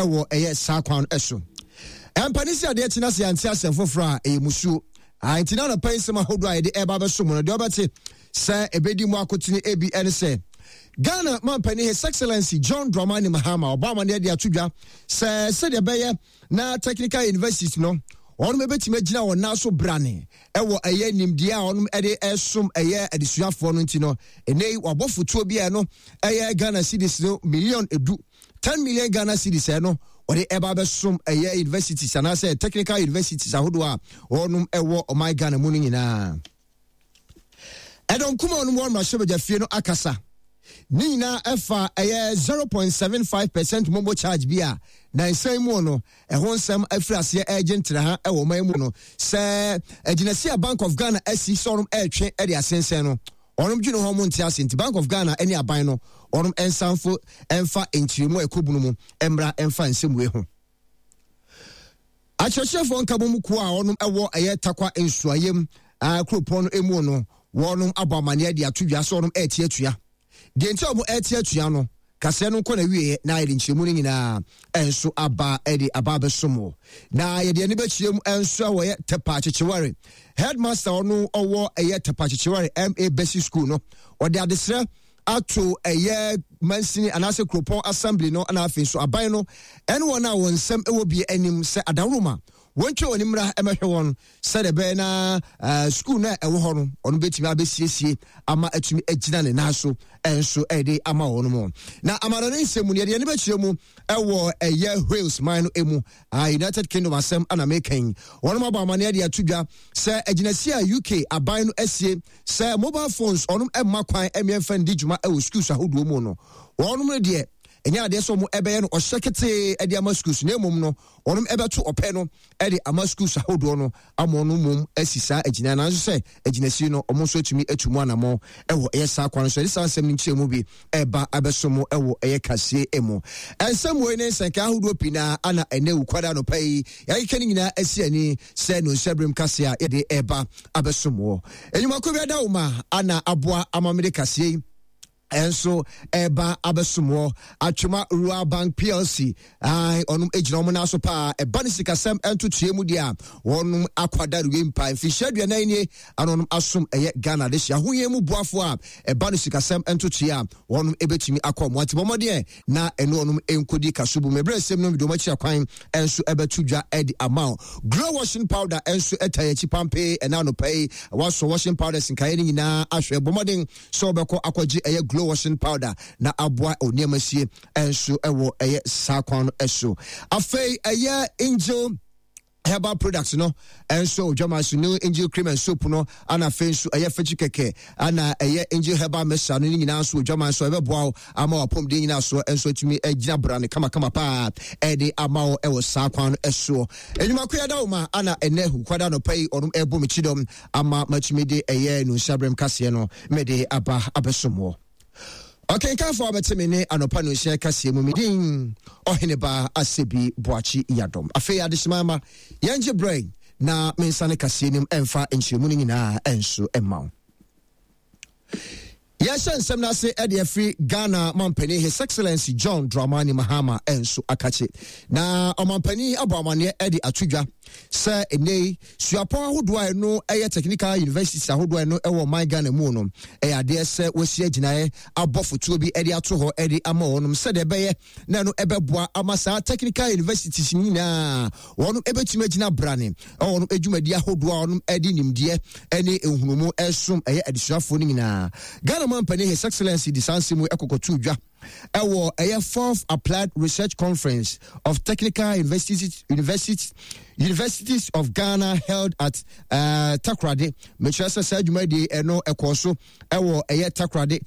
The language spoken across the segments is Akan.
ɛwɔ ɛyɛ saa kwan no so. Ɛmpa ne si adeɛ kye na sɛ yɛante asɛm foforɔ a ɛyɛ musuo. Nti na anɔpa yi nsɛm ahodoɔ a yɛde ɛreba abɛso mu no deɛ ɔbɛte sɛ ɛbɛdi mu akotene ebi ɛne sɛ Ghana mampanin His Excellency John Dramani Mahama ɔbɔ amaneɛ de ato dwa sɛ sɛdeɛ ɛbɛyɛ na technical universities no wɔn bɛtumi agyina wɔn nan so brane ɛwɔ ɛyɛ nimdeɛ a wɔn de ɛsom ɛyɛ adesuafoɔ no nti no ɛnɛ yi wabɔ fotuo bi a ɛno ɛyɛ Ghana cedis no million edu 10 million Ghana cedis ɛno wɔde ɛba abɛsom ɛyɛ universities anaasɛ technical universities ahodoɔ a wɔn ɛwɔ ɔman Ghana mu no nyinaa. Ɛdɔm kuma wɔn wɔ mmarahyɛbadwa fie no akasa ne nyinaa ɛfa ɛyɛ 0.75% momo charge bi a nansan mu no ɛho nsɛm afiri aseɛ ɛregye ntraha ɛwɔ ɔman mu no sɛ agyinasi a Bank of Ghana asi sɛ ɔnom ɛretwe ɛde asensɛn no ɔnom dwene ho ɔmo nte ase nti Bank of Ghana ɛne aban no ɔnom ɛnsanfo ɛnfa nkyerɛmu a ɛkɔ bunu mu ɛmmra ɛnfa nsɛmue ho. Akyerɛkyerɛfoɔ nkabom kuo a wɔnom ɛwɔ ɛyɛ Tarkwa Nsuayem kuropɔn no mu no wɔnom abɔ amaneɛ de ato dwa sɛ wɔnom ɛrete atua. Deɛ nti a wɔn ɛrete atua no, kaseɛ no nkɔ n'awieɛ na yɛde nkyerɛmu no nyinaa nso aba de aba abɛsom wɔ. Na yɛde ani bɛkyerɛ mu nso a wɔyɛ Tepa Kyekyeware. Headmaster ɔno ɔwɔ ɛyɛ Tepa Kyekyeware MA Basic School no, ɔde adesrɛ ato ɛyɛ mansini anaasɛ kuropɔn assembly no na afei nso aban no ɛne wɔn a wɔn nsɛm ɛwɔ bi anim sɛ adaworoma wɔntwa wɔn mmra ɛmɛhwɛ wɔn sɛdeɛ ɛbɛyɛ na sukuu no a ɛwɔ hɔ no ɔno bɛtumi abɛsiesie ama atumi agyina ne nan so ɛnso ɛde ama wɔn mu. Na amano ne nsɛm mu no yɛde yɛn bɛkyerɛ mu ɛwɔ ɛyɛ Wales man no mu, United Kingdom asɛm ana meka yi. Wɔn abɔ amaneɛ de ato dwa sɛ agyinasi a UK aban no asie sɛ mobile phones ɔnom ɛmma kwan ɛmmeɛmfa ndi dwuma ɛwɔ schools ahodoɔ mu no, wɔnom no deɛ ɛnyɛ adeɛ sɛ wɔn ɛbɛyɛ no ɔhyɛ ketee ɛde ama schools, na mmom no wɔnom ɛbɛto ɔpɛ no ɛde ama schools ahodoɔ no ama wɔn mmom asi saa agyina, nanso sɛ agyinasi no wɔn nso atumi atu mu anamɔ ɛwɔ ɛyɛ saa kwan so. Ɛde saa nsɛm no nkyerɛ mu bi ɛba abɛso mo ɛwɔ ɛyɛ kaseɛ mu. Nsɛm wei ne nsɛnka ahodoɔ pii na ana ɛnɛ wukwada anɔpa yi yɛakeka ne nyinaa asi ani sɛ no nsɛbrem kaseɛ a yɛde ɛba abɛso mo. Enyimako bi ada wo ma ana aboa ama mede kaseɛ yi ɛnso ɛba abɛsom wɔ Atwema Rural Bank PLC. Ɔnom gyina wɔn nan so paa ɛba ne sikasɛm ntotoeɛ mu deɛ a wɔnom akɔadareɛ mpa mfirihyia 40 nie ana ɔnom asom ɛyɛ Ghana de hyɛ ahohia mu boafoɔ a ɛba no sikasɛm ntotoeɛ a wɔnom ɛbɛtumi akɔ wɔn ati bɔmmɔdeɛ na ɛne ɔnom nkɔdi kaso bu mmerɛ sɛm no mede wɔn akyi akwan nso ɛbɛto dwa ɛde ama wo. Glow washing powder nso ɛta yɛn akyi pampee ɛna anɔpa yi. Wasɔ washing powders nkaeɛ no nyinaa ahwɛ, bɔ mmɔden sɛ wobɛkɔ akɔgye ɛyɛ Glow washing powder na aboa nneɛma sie nso ɛwɔ ɛyɛ saa kwan no ɛso. Afei ɛyɛ Angel herbal products no nso odwama so, new Angel cream and soap no, ana afei nso ɛyɛ fekyi kɛkɛ ana ɛyɛ Angel herbal mixture no ne nyinaa nso odwama nso ɛbɛboa wo ama wapɔmuden nyinaa so nso atumi agyina bra ne kamakama paa ɛde ama wo ɛwɔ saa kwan no ɛsoɔ. Enyimako yɛda wo ma ana ɛnɛ hukwada nɔpa yi ɔnom ɛbɔ me kyidɔm ama matumi de ɛyɛ nunsiabrɛm kaseɛ no mede aba abɛsom wɔ. Ɔkenkanfo a wɔbɛte me ne anɔpa nonsia kaseɛ mu, me din Ɔheneba Asebi Boakye Yadom. Afei adehyema ma yɛngye berɛ na mensane kaseɛ nim ɛmfa nkyerɛmu no nyinaa ɛnso ɛma wo. Yɛhyɛ nsɛm no ase ɛde afiri Ghana mampanin His Excellency John Dramani Mahama ɛnso akakye. Na ɔmampanin abɔ amanneɛ ɛde ato dwa sɛ ɛnnɛ yi suapɔn ahodoɔ a ɛno ɛyɛ technical universities ahodoɔ a ɛno ɛwɔ ɔman Ghana mu no, ɛyɛ adeɛ sɛ wɔasi agyinaeɛ abɔ fotuo bi ɛde ato hɔ ɛde ama wɔnom sɛdeɛ ɛbɛyɛ na ɛno ɛbɛboa ama saa technical universities nyinaa wɔnom ɛbɛtumi agyina brane ɛwɔ wɔnom adwumadi ahodoɔ a wɔnom ɛde nimdeɛ ɛne nhunumu ɛsom ɛyɛ adesuafoɔ no nyinaa. Ghana mampanin His Excellency de saa nsɛm yi ɛkɔkɔtoo dwa ɛwɔ ɛyɛ fourth applied research conference of technical universities universities universities of Ghana held at Takoradi. Mekyerɛ sɛ saa dwumadie ɛno ɛkɔɔ so ɛwɔ ɛyɛ Takoradi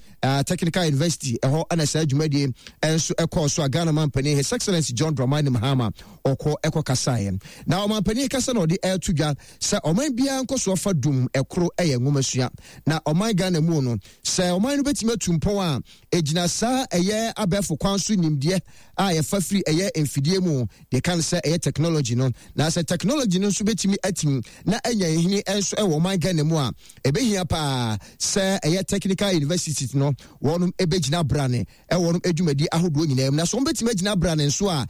Technical University ɛhɔ ɛna saa dwumadie ɛnso ɛkɔɔ so a Ghana mampanin His Excellency John Dramani Mahama ɔkɔ ɛkɔ kasaeɛ. Na ɔmampanin kasa na ɔde ɛreto dwa sɛ ɔman biara nkɔsoɔ fa dum ɛkoro ɛyɛ nwomasua, na ɔman Ghana mu no sɛ ɔman no bɛtumi atu mpɔn a ɛgyina saa ɛyɛ abɛɛfo kwan so nimdeɛ a yɛfa firi ɛyɛ mfidie mu deɛ ka no sɛ ɛyɛ technology no. Na sɛ technology no nso bɛtumi atim na anya nhini nso ɛwɔ ɔman Ghana mu a, ɛbɛhia paa sɛ ɛyɛ technical universities no wɔnom ɛbɛgyina brane ɛwɔ wɔnom adwumadi ahodoɔ nyinaa mu. Na sɛ wɔn bɛtumi agyina brane nso a